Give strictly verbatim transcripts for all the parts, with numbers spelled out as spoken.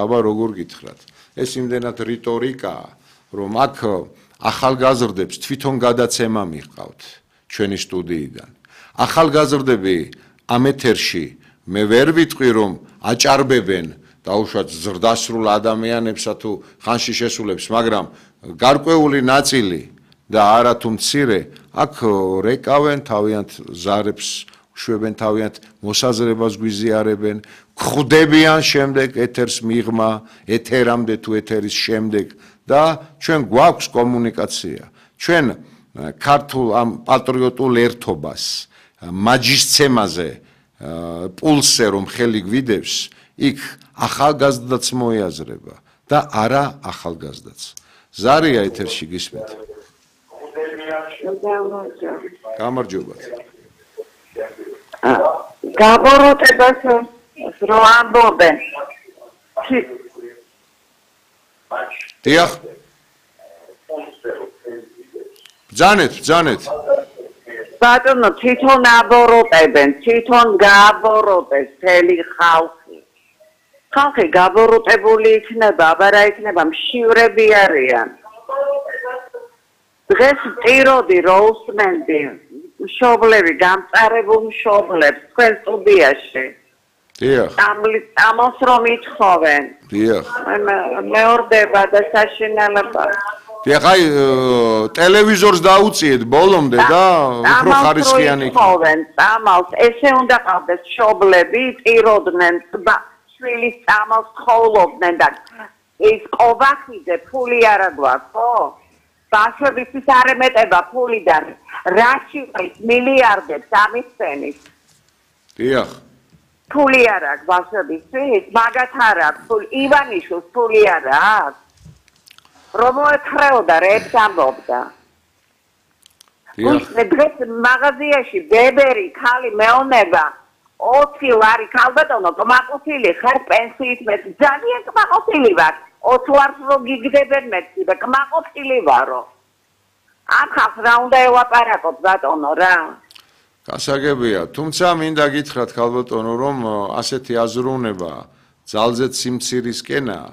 აბა როგორ გითხრათ ეს იმდენად რიტორიკაა რომ აქ ახალგაზრდებს თვითონ გადაცემა მიყავთ ჩვენი სტუდიიდან ახალგაზრდები ამ ეთერში მე ვერ ვიტყვი რომ აჭარბებენ დაუშვათ ზრდასრულ ადამიანებსა თუ ხანში შესულებს მაგრამ გარკვეული ნაწილი და არა თუ მცირე აქ რეკავენ თავიანთ ზარებს შვებენ თავიანთ მოსაზრებას გვიზიარებენ ხვდებიან შემდეგ ეთერს მიღმა ეთერამდე თუ ეთერის შემდეგ და ჩვენ გვაქვს კომუნიკაცია ჩვენ ქართულ ამ პატრიოტულ ერთობას მაჯისცემაზე პულსზე რომ ხელი გვიდევს იქ ახალგაზრდაც მოიაზრება და არა ახალგაზრდაც ზარია ეთერში გისმენთ გამარჯობათ გაბოროტებას რო ამბობენ დიახ ბძანეთ ბძანეთ ბატონო თვითონ აბოროტებენ თვითონ გააბოროტეს მთელი ხალხი ხალხი გაბოროტებული იქნება აბა რა იქნება მშივრები არიან დღეს ტიროდი რო უსმენდი მშობლები გამწარებულ მშობლებს თქვენ სტუდიაში დიახ ამას რომ ითხოვენ დიახ მეორდება და საშინელება დიახ აი ტელევიზორს დაუწიეთ ბოლომდე და უფრო ხარისხიანი ითხოვენ წამალს ესე უნდა ყავდეს მშობლები ტიროდნენ შვილის წამალს ხოვლობდნენ და ის ყოვახიძე ფული არა გვაქვს ხო ბავშვებისთვის არ ემეტება ფულიდან რაში ყრის მილიარდებს ამისცენის დიახ ფული არ აქვს ბავშვებისთვის მაგათ არ აქვს ფული ივანიშვილს ფული არ აქვს რომ მოეხრეოდა რეებს ამბობდა დიახ დღეს მაღაზიაში ბებერი ქალი მეონება ოცი ლარი ქალბატონო კმაყოფილი ხარ პენსიით მეტი ძალიან კმაყოფილი ვარ ოცი ლარს რო გიგდებენ მეტი და კმაყოფილი ვარო ამ ხალხს რა უნდა ევაპარაკოთ ბატონო რა გასაგებია თუმცა მინდა გითხრათ ქალბატონო რომ ასეთი აზროვნება ძალზედ სიმცირისკენაა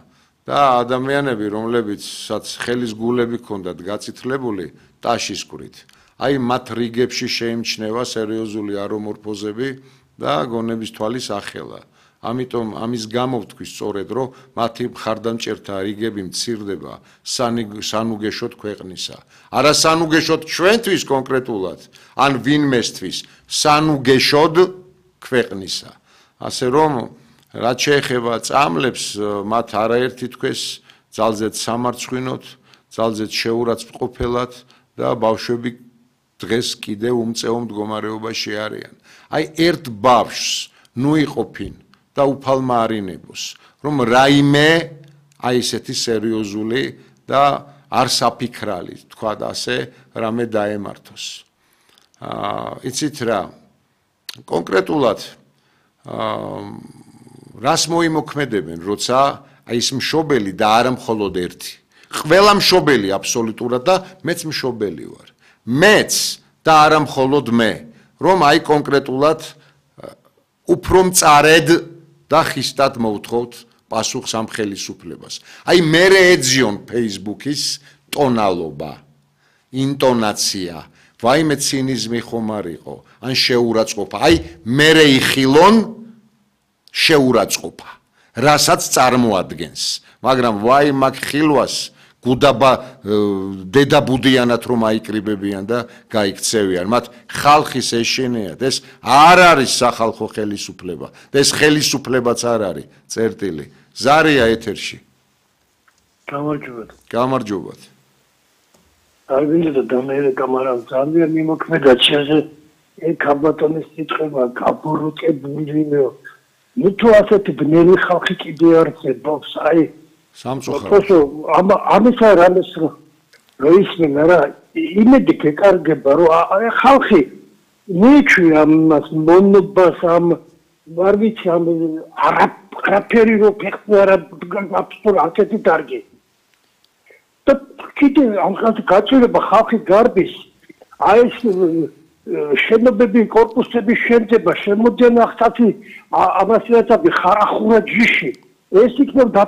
და ადამიანები რომლებიცაც ხელის გულები ჰქონდათ გაწითლებული ტაშისკვრით აი მათ რიგებში შეიმჩნევა სერიოზული არომორფოზები და გონების თვალის ახელა ამიტომ ამის გამო ვთქვი სწორედ რომ მათი მხარდამჭერთა რიგები მცირდება სანუგეშოდ ქვეყნისა არა სანუგეშოდ ჩვენთვის კონკრეტულად ან ვინმესთვის სანუგეშოდ ქვეყნისა ასე რომ რაც შეეხება წამლებს მათ არაერთი თქვეს ძალზედ სამარცხვინოთ ძალზედ შეურაცხმყოფელად და ბავშვები დღეს კიდევ უმწეო მდგომარეობაში არიან აი ერთ ბავშვს ნუ იყოფინ და უფალმა არინებოს რომ რაიმე აი ესეთი სერიოზული და არსაფიქრალი თქვა და ასე რამე დაემართოს აა იცით რა კონკრეტულად აა რას მოიმოქმედებენ როცა აი ეს მშობელი და არა მხოლოდ ერთი ყველა მშობელი აბსოლუტურად და მეც მშობელი ვარ მეც და არა მხოლოდ მე რომ აი კონკრეტულად უფრო მწარედ და ხისტად მოვთხოვთ პასუხს ამ ხელისუფლებას აი მე ეძიონ Facebook-ის ტონალობა ინტონაცია ვაიმე ცინიზმი ხომ არ იყო ან შეურაცხყოფა აი მე იხილონ შეურაცხყოფა რასაც წარმოადგენს მაგრამ ვაი მაგ ხილვას გუდაბა დედაბუდიანად რომ აიკრიბებიან და გაიქცევიან მათ ხალხის ეშინიათ ეს არ არის სახალხო ხელისუფლება და ეს ხელისუფლებაც არ არის წერტილი ზარია ეთერში გამარჯობათ გამარჯობათ არ ვინდა და მე კამარა ძალიან მიმოქმედა ჩემზე ეგ ქალბატონის სიტყვა გაბოროტებულიო ნუ თუ ასეთი ბნელი ხალხი კიდე არსებობს აი სამწუხაროდ ამ ამისა რამეს რო ისმენ რა იმედი გეკარგება რომ აი ხალხი მიჩვი ამას მონობას ამ არ ვიცი ამ არაფერი რო ფეხი არა აბსოლუტურად ასეთი დარგი და კიდე ამ ხალხი გაჭირება ხალხი გარბის აი ეს შენობები კორპუსების შემდება შემოდიან ახსათი ამას რაც ხარახურა ჯიში ეს იქნება